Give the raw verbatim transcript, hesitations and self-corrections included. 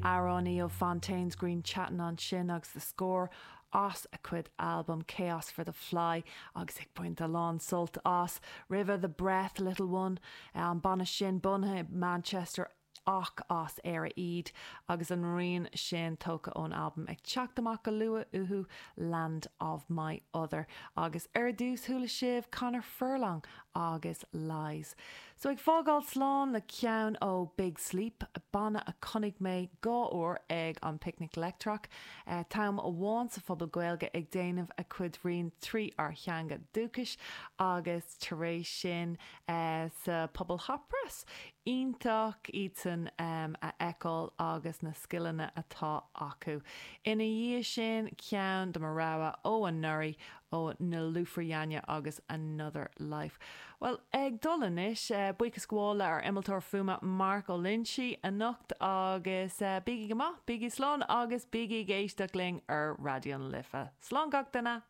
Amhránaí ó Fontaines Grian Chatten ansin agus The Score as a cuid album Chaos for the Fly agus ag baint a lán sult as roimhe The Breath Little One an banna sin bunaithe Manchester ach as Éire iad agus an rian sin tógtha ón albam ag teacht amach go luath uathu Land of My Other agus ar dtús chuala sibh Conor Furlong agus Lies. So ag fágáil slán le ceann ó Big Sleep, banna a chonaic mé dhá uair ag an Picnic Leictreach, uh, t-am amháin sa Phuball Gaeilge ag déanamh a cuid rian trí ár theanga dúchais agus tar éis sin uh, sa Phuball Hot Press. Iontach iadsan um, a fheiceáil agus na scileanna atá acu. Ina dhiaidh sin ceann de mo rogha ó anuraidh ó Nilüfer Yanya agus Another Life. Well ag dul anois uh, buíochas gabháil ar innealtóir fuaime Mark Ó Loinsigh anocht agus uh, bígí go maith, bígí slán agus bígí ag éisteacht linn ar Raidió na Life. Slán gach duine!